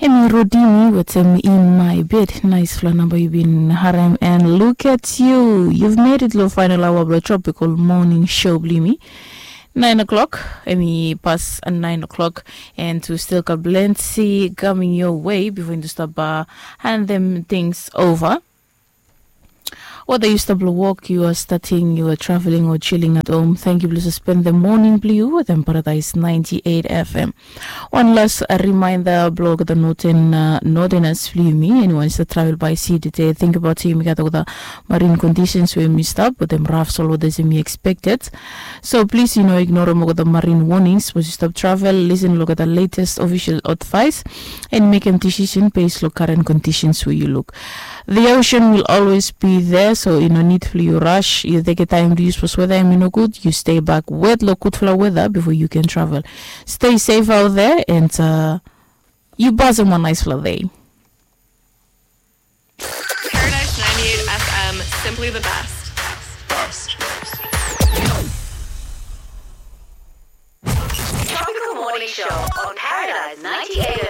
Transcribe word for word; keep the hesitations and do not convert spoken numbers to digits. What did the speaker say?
Em i Rodimi wetem In My Bed. Naisfala namba yu bin harem. And look at you, you've made it lo final hour blo Tropical Morning Show blo yumi. Nine o'clock, em i pas nine o'clock. And we still got plenty coming your way before you stop uh, hand them things over. Whether you stop lo work, you are starting, you are traveling or chilling at home, thank you blo spend the morning blo yu wetem Paradise ninety-eight F M. One last uh, reminder blo the northern uh, northerners blo yumi, anyone is travel by sea today, think about yumi gat the marine conditions where yumi stop with them rough sol weather yumi expected. So please, you know, ignore them the marine warnings. Suppose you stop travel, listen, look at the latest official advice, and make a decision based on current conditions where you look. The ocean will always be there, so you no need for you rush. You take a time to use for weather and no good. You stay back wet lo good flower weather before you can travel. Stay safe out there and uh, you pass them a nice flower day. Paradise ninety-eight F M, simply the best. Tropical Morning Show on Paradise ninety-eight